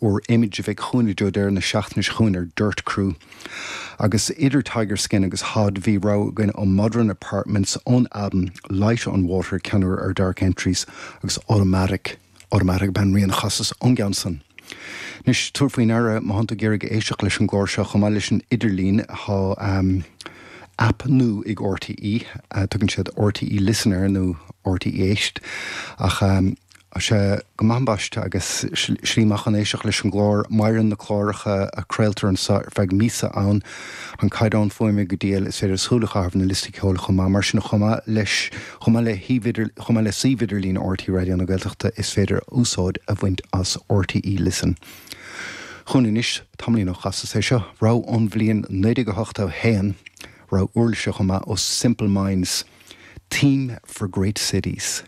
úr Image a bheidh chugainn i dtreo deireadh na seachtaine seo chugainn ar Dirt Crew. Agus idir Tiger Skin agus Hod bhí rogha againn ó Modern Apartments ón albam Light on Water, ceann úr ar Dark Entries, agus Automatic. Automatic ab ea an rian a chasas ón gceann san. Anois, tabhair faoi ndeara, má thánn tú ag iarraidh éisteacht leis an gclár seo, chomh maith leis an idirlíon, thá aip nua ag RTÉ, tugann siad RTÉ Listen air, nó RTÉ Éist, ach Tá sé go maith ambaiste agus slí maith chun éisteacht leis an gclár. Maireann na cláracha a craoltar anseo ar feadh míosa ann. An caighdeán fuaime go diail, is féidir súil a chaitheamh ar na liostaí ceoil chomh maith. Mar sin, chomh maith leis, chomh maith le shuíomh, chomh maith le suíomh idirlín RTÉ Raidió na Gaeltachta, is féidir úsáid a bhaint as RTÉ Listen. Chugainn anois, tamaillín ó chasas é seo, rogha ón bhliain 1981, rogha uirlise chomh maith ó Simple Minds, Theme for Great Cities.